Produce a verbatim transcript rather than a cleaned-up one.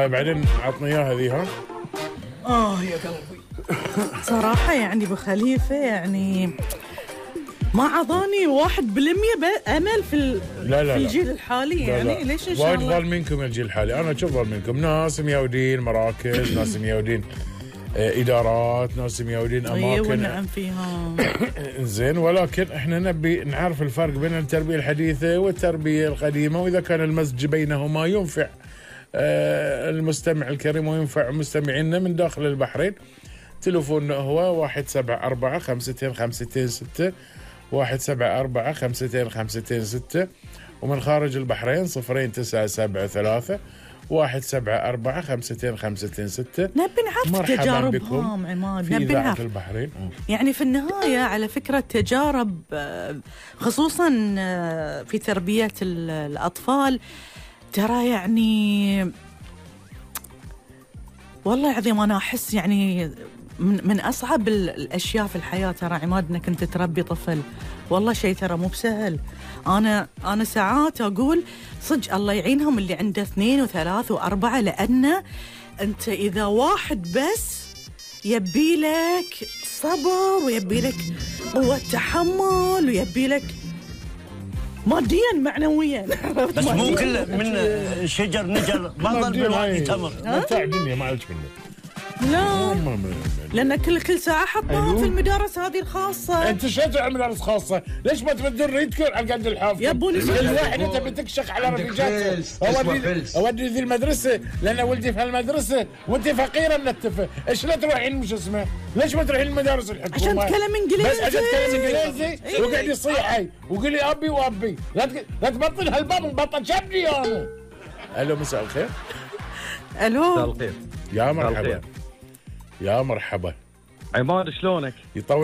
طيب بعدين عطني اياها ذي. ها اه يا قلبي صراحة يعني ابو خليفة يعني ما عطاني واحد بالمية امل في ال... لا لا في لا. الجيل الحالي لا يعني لا. ليش ان شاء وايد الله ظالمينكم الجيل الحالي. انا اشوف ظالمينكم ناس ميودين مراكز، ناس ميودين آه ادارات، ناس ميودين اي اماكن. والنعم فيها. زين، ولكن احنا نبي نعرف الفرق بين التربيه الحديثه والتربيه القديمه، واذا كان المزج بينهما ينفع آه المستمع الكريم وينفع مستمعينا من داخل البحرين. تلفوننا هو واحد سبعة أربعة خمستين خمستين ستة، واحد سبعة أربعة خمستين خمستين ستة، ومن خارج البحرين صفرين تسعة سبعة ثلاثة واحد سبعة أربعة خمستين خمستين ستة. نبي نعرف تجاربهم عماد، في نبي إذاعة نعرف البحرين. يعني في النهاية على فكرة تجارب خصوصا في تربية الأطفال، ترى يعني والله العظيم أنا أحس يعني من, من أصعب الأشياء في الحياة ترى عماد إنك أنت تربي طفل. والله شيء ترى مو بسهل. أنا أنا ساعات أقول صدق الله يعينهم اللي عنده اثنين وثلاث وأربعة، لأن أنت إذا واحد بس يبي لك صبر ويبي لك قوة تحمل ويبي لك ماديا معنويا. بس مو كل من شجر نجر بطل من وادي تمر. متاع الدنيا ما عليك منه. لا لأن كل كل ساعة حطهم أيوه. في المدارس هذه الخاصة. أنت شو تعمل مدارس خاصة؟ ليش ما تبدل ريدكم على قد الحافظ؟ يا ابوني كل واحد أنت بتكشخ على رفيجاته. أودي أودي ذي المدرسة لأن ولدي في هالمدرسة وأنت فقيرة منتفة. إيش لا تروحين مش اسمه؟ ليش ما تروحين المدارس الحكومة؟ عشان تتكلم إنجليزي. بس عشان تتكلم إنجليزي وقاعد يصيحي وقولي أبي وأبي. لا تك... لا تبطل هالباب بطل شبني أنا. ألو مساء الخير. ألو مساء الخير. يا مرحبا. يا مرحبا عماد شلونك؟ يطول